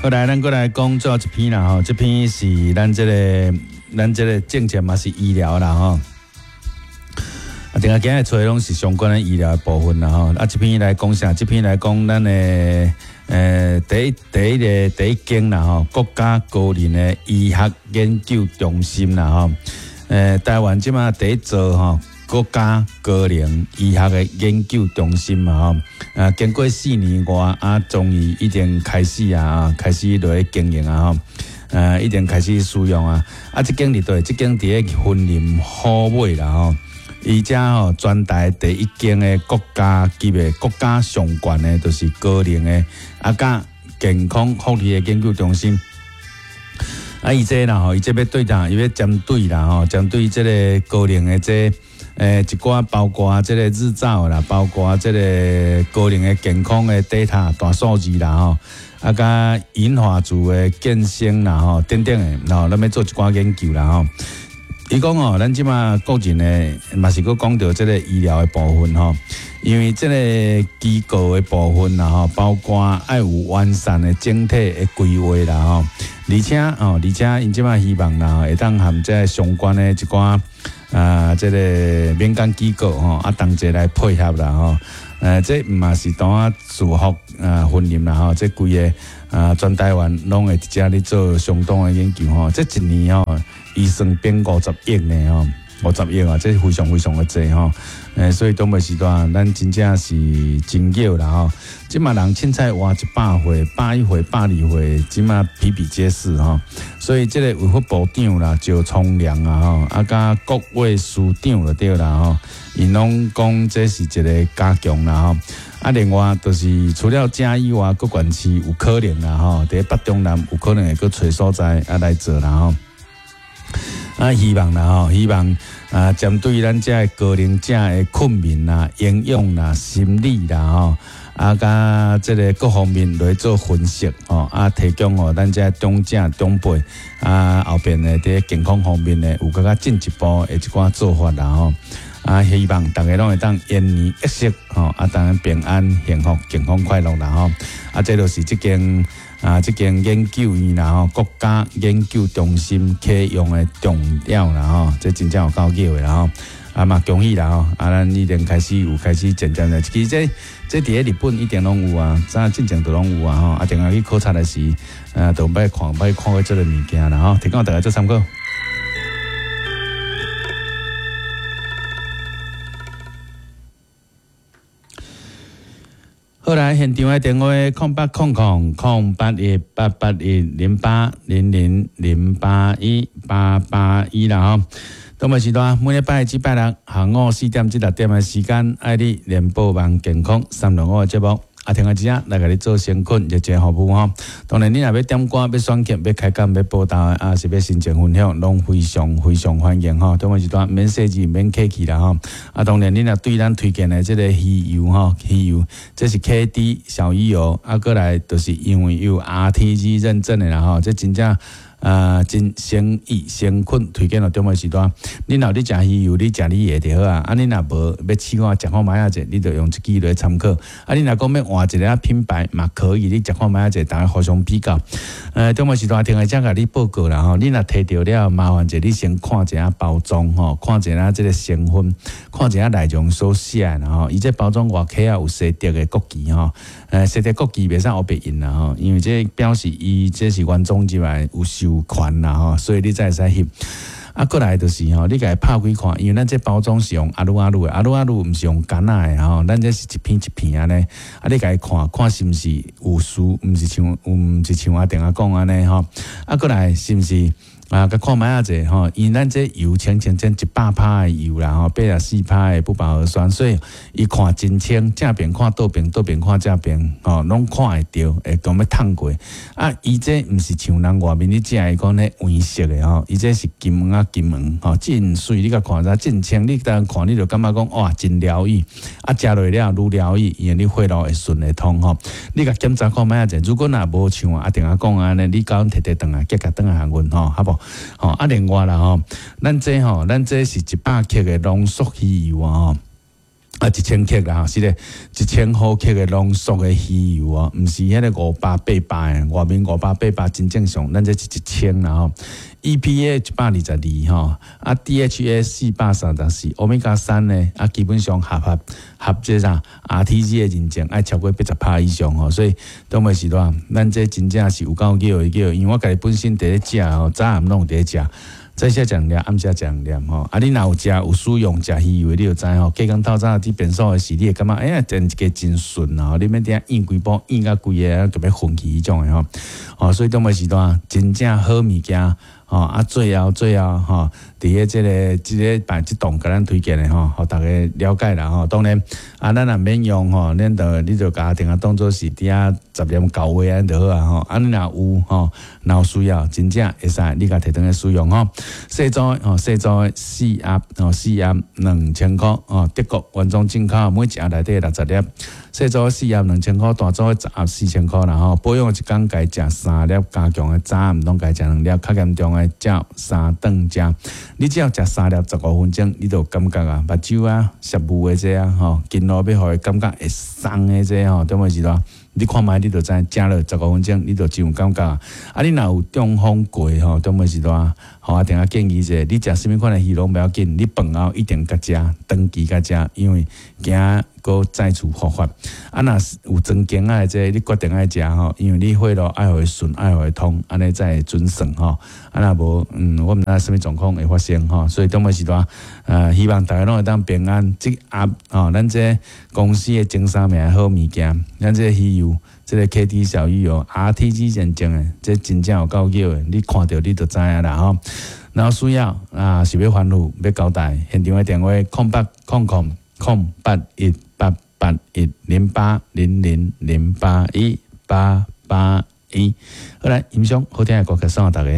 好來，咱閣來講最後一篇啦吼，這篇是咱這個政策嘛是醫療啦吼。啊，定下今日揣攏是相關的醫療的部分啦吼。啊，這篇來講啥？這篇來講咱的第一間啦吼，國家高齡的醫學研究中心啦吼。台灣這馬第一座吼，國家高齡醫學的研究中心嘛吼，啊，經過4年外啊，終於已經開始啊，開始落去經營啊吼，已經開始使用啊。啊，這間佇佗？這間佇咧雲林虎尾啦吼，伊遮吼全台第一間的國家級的國家上懸的，就是高齡的啊，佮健康福利的研究中心。啊，伊這啦吼，伊這欲對啥？伊欲針對啦吼，針對這個高齡的這一寡包括這個日照啦，包括這個高齡的健康的 data 大數據啦吼，啊，佮銀髮族的健身啦吼，等等的，吼，咱欲做一寡研究啦吼。伊講哦，咱這馬個人的嘛是閣講著這個醫療的部分吼，因為這個機構的部分啦吼，包括愛有完善的整體的規劃啦吼，而且吼，而且𪜶這馬希望啦，會當和這個相關的一寡啊，這個民間機構吼，啊同齊來配合啦吼，這毋嘛是單啊自福啊雲林啦吼，這規个啊全台灣攏會佇遮咧做相當的研究吼，這一年吼，預算編50億呢吼，50億啊，這非常非常的濟吼，所以當尾時段，咱真正是真少啦吼。這馬人凊彩活100歲、101歲、102歲，這馬比比皆是吼。所以這個衛福部長啦，趙聰良啊吼，啊佮國衛司長就對啦吼，𪜶攏講這是一個加強啦吼。啊，另外就是除了遮以外，閣縣市有可能啦吼，佇北中南有可能會閣揣所在啊來做啦吼。啊，希望啦吼，希望啊，針對咱遮的高齡者的睏眠啦、營養啦、心理啦吼，啊，佮這個各方面來做分析吼，啊，提供予咱遮長者長輩啊，後邊的佇健康方面的有閣較進一步的一寡做法啦吼。啊，希望逐家攏會當延年益壽吼，啊，當然平安、幸福、健康、快樂啦吼。啊，這就是這間啊，這間研究院啦吼，國家研究中心啟用的重點啦吼，這真正有夠叫的啦吼。啊嘛，恭喜啦吼！啊，咱已經開始有開始漸漸的，其實這佇咧日本一定攏有啊，早進前都攏有啊吼。啊，定下去考察的時，都欲看欲看過這个物件啦吼，提供大家做參考。好來，現場的電話0800 081 8810800 081 881啦吼。東北時段每禮拜至拜六下午4點至6點的時間，愛你聯播網健康365的節目。啊，聽下這來共你做誠懇熱情服務吼。當然，你若欲點歌、欲選曲、欲開講、欲報道，啊是欲申請分享，攏非常非常歡迎吼。中午時段免說字、免客氣啦吼。啊，當然，你若對咱推薦的這個魚油吼，魚油這是 KD 小魚油，啊，過來就是因為有 RTG 認證的啦吼，這真正。啊，真誠意誠懇推薦予中午時段，你若有咧食魚油，你食你的就好啊。啊，你若無欲試看食看覓仔者，你就用這支來參考。啊，你若講欲換一个品牌嘛可以，你食看覓仔者，逐家互相比較。中午時段聽下才共你報告啦吼。你若提著了，麻煩者你先看一下包裝吼，看一下這个成分，看一下內容所寫的啦吼。伊這包裝外殼啊有西德的國旗吼，西德國旗袂使烏白印啦吼，因為這表示伊這是原裝入來有授權啦吼，所以你才會使翕。啊，過來就是吼，你共伊拍開看，因為咱這包裝是用阿魯阿魯的，阿魯阿魯毋是用柑仔的吼，咱這是一片一片按呢。啊，你共伊看看是毋是有輸，毋是像阿定仔講按呢吼。啊，過來是毋是？啊，共看覓仔者吼，因為咱這油清清清100%的油啦吼，84%的不飽和酸，所以伊看真清，正邊看倒邊，倒邊看正邊，吼，攏看會著，會講欲燙過。啊，伊這毋是像人外面咧食的講咧黃色的吼，伊這是金黃啊金黃，吼，真媠，你共看遮真清，你當看你就感覺講哇，真療癒。啊，食落了愈療癒，因為你血路會順會通吼。你共檢查看覓仔者，如果若無像阿定仔講按呢，你共阮提提轉來，結共轉來予阮吼，好無？吼啊，另外啦吼，咱這吼，咱這是100克的濃縮魚油啊吼。啊，1000克啦，吼，是咧，1000毫克的濃縮的魚油哦，毋是彼个500、800的，外面五百八百真正常，咱這是一千啦吼。EPA 122吼，啊 DHA 434，歐米伽三呢，啊基本上合這啥 RTG 的認證，愛超過80趴以上吼，所以當尾是偌，咱這真正是有夠叫的叫，因為我家己本身佇咧食吼，早暗攏佇咧食。早時食兩粒，暗時食兩粒吼。啊，你若有食有使用食魚油，你就知吼。隔工透早佇便所的時，你會感覺哎呀，真一個真順啊！你免佇遐嚶規晡，嚶甲規个就欲昏去彼種的吼。哦，所以當尾時段真正好物件吼。啊，最後最後吼，佇咧這個這禮拜這檔共咱推薦的吼，予逐家了解啦吼。當然啊，咱若免用吼，恁就你就共定啊當做是佇遐雜念厚話按呢就好啊吼。啊，你若有吼，若有需要，真正會使你共提轉去使用吼。細組吼，細組四盒吼，四盒2000箍哦，德國原裝進口，每一盒內底60粒。細組四盒2000箍，大組10盒4000箍啦吼。保養一工共食三粒，加強的早暗攏共食兩粒，較嚴重的照三頓食。你只要食三粒15分鐘，你就有感覺啊，目睭啊、攝霧的這啊吼，筋路欲予伊感覺會鬆的這吼，對毋是囉？你看覓你就知，食落十五分鐘，你就真有感覺。啊，你若有中風過吼，中尾時段，吼，啊，定仔建議者，你食啥物款的魚攏無要緊，你飯後一定共食，長期共食，因為驚閣再次復發。啊，若有裝鏡仔的這個，你決定愛食吼，因為你血路愛予伊順，愛予伊通，按呢才會準算吼。啊，若無，我毋知啥物狀況會發生吼，所以中尾時段，希望大家攏會當平安。這盒吼，咱這公司的前三名好物件，咱這魚油，這個 KD 小魚油 RTG 認證的，這真正有夠叫的，你看著你就知影啦吼。若有需要啊，是欲反覆欲交代，現場的電話0800 081 881 0800 081 881。好來，欣賞好聽的歌曲送予大家。